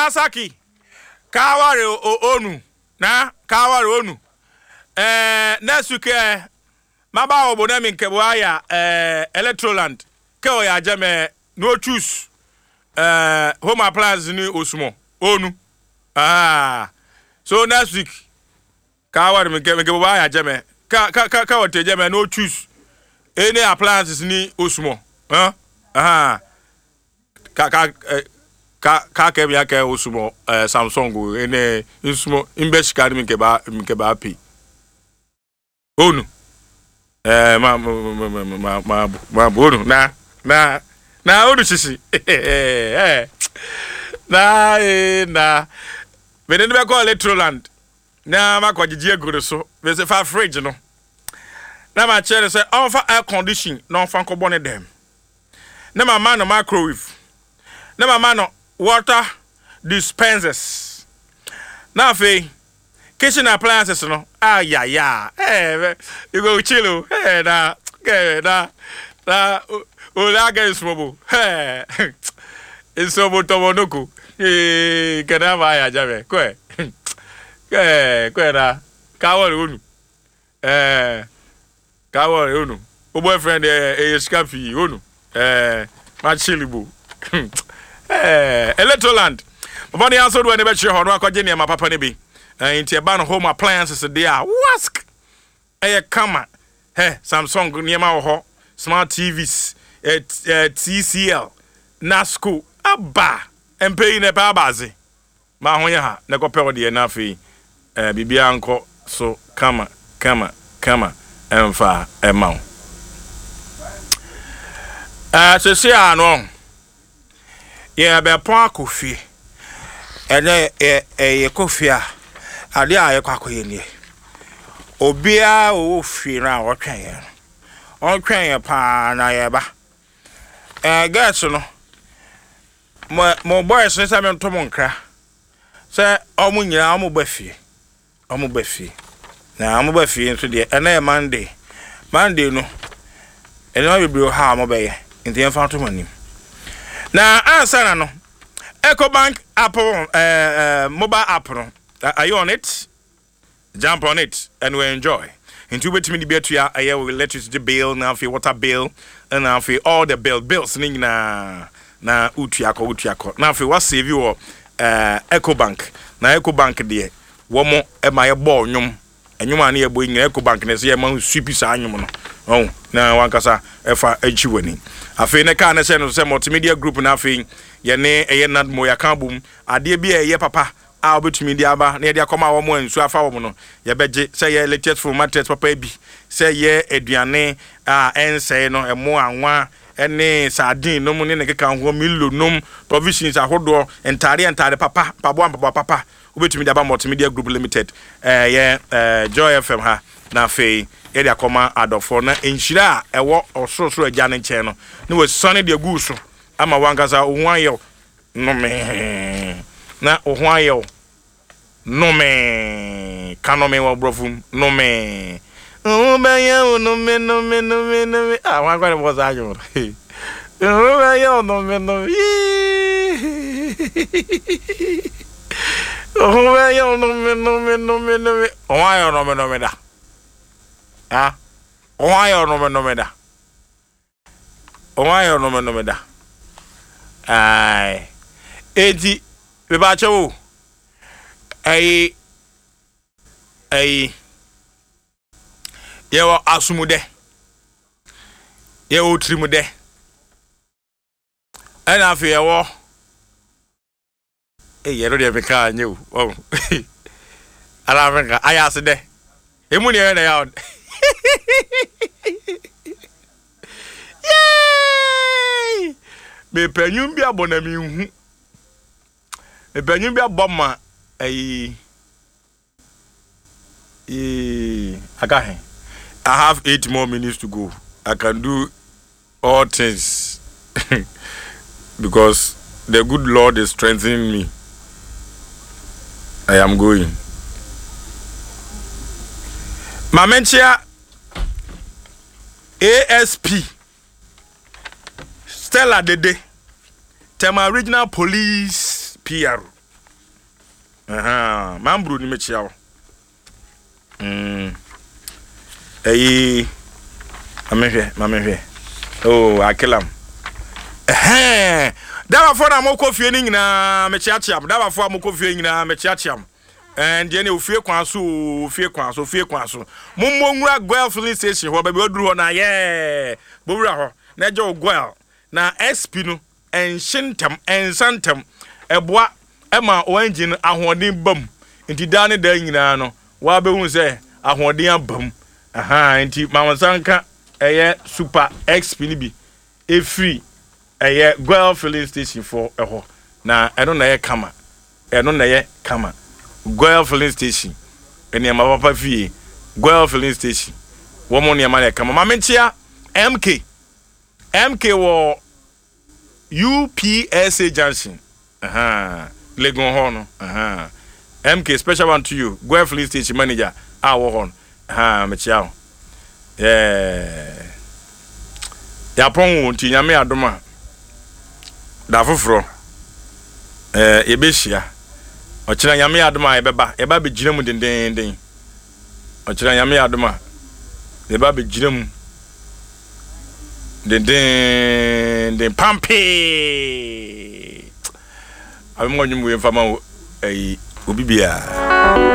Asaki, ka ware onu na ka ware onu. Eh, next week eh, maba wo bo na mi nkebo aya eh, Electroland. Ke o ya jeme no choose eh, home appliance ni osumo onu. Ah, so next week ka ware mi nke bo aya jeme ka ka ka ka o te jeme no choose any appliances ni osumo. Huh? Ah. Ka ka eh, ka ka kɛ mi akɛ osumɔ eh, Samsung o ene nsumɔ mbɛ sika ni mi nkɛ ba mi nkɛ ba pay. Onu. Eh, ma ma ma ma ma ma onu na na na onu sisi. Eh, na eh na. Mene ne bɛkɔ Electroland na makɔ gyegye agu ne so. Mese fa fridge no. Na ma kyerɛ no sɛ ɔmfa air condition na ɔmfa nkɔbɔ ne dɛm. Na ma ma no microwave. Na ma ma no water dispensers. Na afei kitchen appliances no ayaya eh you go chill o eh na eh na na ole aga nsuobo eh nsuobo tɔbɔ noko eh kɛnɛ ama ayɛ agya bɛ kɔɛ eh kɔɛ na kawɔre onu eh Ka wɔ onu. Wo boyfriend deɛ ɛyɛ sika pii onu. Ɛɛ ma chill bo. Ɛɛ Electroland. Bɔbɔ ne aso do ɛne bɛkyerɛ hɔ no akɔgye nneɛma papa no bi. Ɛɛ nti ɛba no home appliances deɛ a wask ɛyɛ kama. Hɛ Samsung nneɛma wɔ hɔ, smart TVs, ɛɛ TCL, Nasco aba. Mpɛ yi na ɛpɛ aba adze. Ma ho yɛ ha na kɔpɛ wo deɛ na afei eh, biribiara nkɔ so kama kama kama ɛmfa ɛma wo. Eh, sese a no yɛbɛpɔn akɔ fie. Ɛnɛ yɛ yɛkɔ fie a, adeɛ a yɛkɔ akɔyɛ nie. Obiara ɔwɔ fie no a ɔtwɛn yɛn no, ɔntwɛn yɛn paa na yɛba. Eh, girls no, Mo mo boys no sɛ mento mo nkra sɛ ɔmo nyinaa ɔmo ba fie ɔmo ba fie na ɔmo ba fie nso deɛ ɛnɛ yɛ Monday Monday no nneɛma bebree wɔ ha a ɔmo bɛyɛ nti yɛmfa nto mo anim na ansa na no Ecobank app ɛɛ eh, mobile app no are you on it? Jump on it and we enjoy. Nti wobɛtumi de bi atua ɛyɛ wo electricity bill na afei water bill na afei all the bill bills ne nyinaa na wotua kɔ wotua kɔ na afei wasave wɔ eh, Ecobank na Ecobank deɛ wɔn ɛma yɛbɔ nnwom nnwom a ne yɛbɔ yi nyinaa Ecobank na ɛsɛ yɛma sweep saa nnwom no ɔn na wankasa ɛfa akyi w'ani afei ne kaa ne hyɛ no sɛ multimedia group na afei yɛne ɛyɛ nadmo yɛaka abom adeɛ bi a ɛyɛ papa a wobɛtumi de aba na yɛde akɔma wɔn a nsuo afa wɔn no, yɛbɛgye, sɛ ɛyɛ latest phone mattress papa bi, sɛ ɛyɛ aduane a ɛnsɛe no, ɛmo, anwa, ne sardine nom ne ne keka ho, Milo nom, provisions ahodoɔ, ntaadeɛ ntaade papa, mpaboa mpaboa papa, wobɛtumi de aba Multimedia Group Limited, ɛyɛ Joy FM ha, na afei yɛde akɔma adɔfoɔ, na nhyira a ɛwɔ Ɔsorosoro Agya no nkyɛn no, na wasiane de agu wo so ama w'ankasa wo ho ayɛ wo Nomee. Na wo ho ayɛ wo. Nomee. Ka nomee wɔ borɔfo mu. Nomee. Wo ho bɛyɛ wo nome nome nome nome. Ah, wɔn akɔ ne bɔ saa adwuma. Wo ho bɛyɛ wo nome nome. Wo ho bɛyɛ wo nome nome nome nome. Wo ho ayɛ wo nome nome da. Ah, wo ho ayɛ wo nome nome da. Wɔn ayɛ ɔnomenome da. Ae. Enti, mebakyɛ wo. Ɛyi, ɛyi, yɛwɔ asomudɛ. Yɛwɔ tirimudɛ. Ɛna afei yɛwɔ Ei, ɛno deɛ meka a nyɛ o. Wahu? Anaa menka, ayɛ ase dɛ. Emu deɛ ɛyɛ na ɛyɛ a Yay! Mepɛ nnwom bi abɔ na menhu. Mepɛ nnwom bi abɔ ma ayi. Yee, aka he. I have 8 more minutes to go. I can do all things because the good Lord is strengthening me. I am going. Maame nkyea ASP Stella Dede, Tema Regional Police PR. Ahaa, Mambro ni mekyia wo. Mm. Ɛyi, ma mehwɛ, ma mehwɛ. Oh, Akilam. Ɛhɛn, dabafoɔ na mokɔ fie no nyinaa mekyeakyea mo. Dabafoɔ a mokɔ fie nyinaa mekyeakyea mo. Ɛn deɛ ne ofie kwan so ofie kwan so ofie kwan so. Mommɔ nwura Goil filling station hɔ, baabi waduru hɔ na yɛɛ. Bowura hɔ na ɛgye wo Goil. Na SP no Ɛnhye ntɛm, ɛnsa ntɛm. Ɛboa ma wo engine no ahoɔden ba mu. Nti daa ne daa nyinaa no, woabɛhu sɛ ahoɔden aba mu. Ahaa, nti ma wo nsa nka ɛyɛ Super XP no bi ɛfiri ɛyɛ Goil filling station foɔ hɔ. Na ɛno na ɛyɛ kama. Ɛno na ɛyɛ kama. Goil filling station, nneɛma papa fie. Goil filling station, wɔn nneɛma na ɛyɛ kama. Ma menkyea MK. MK wɔ UPSA junction ahaa Legon hɔ no ahaa MK special one to you Goel filling station manager a wɔ hɔ no ahaa mekyia wo yeah yɛapɔn wo nti nyame adom a da foforɔ eh, yɛbɛhyia ɔkyena nyame adom a yɛbɛba yɛba bɛgyina mu dendenden Ɔkyena Nyame yɛ adom a, yɛba abɛgyina mu dendeenden pampee. Abɛmɔ nnwom wei mfa ma wo ɛyi obi biara.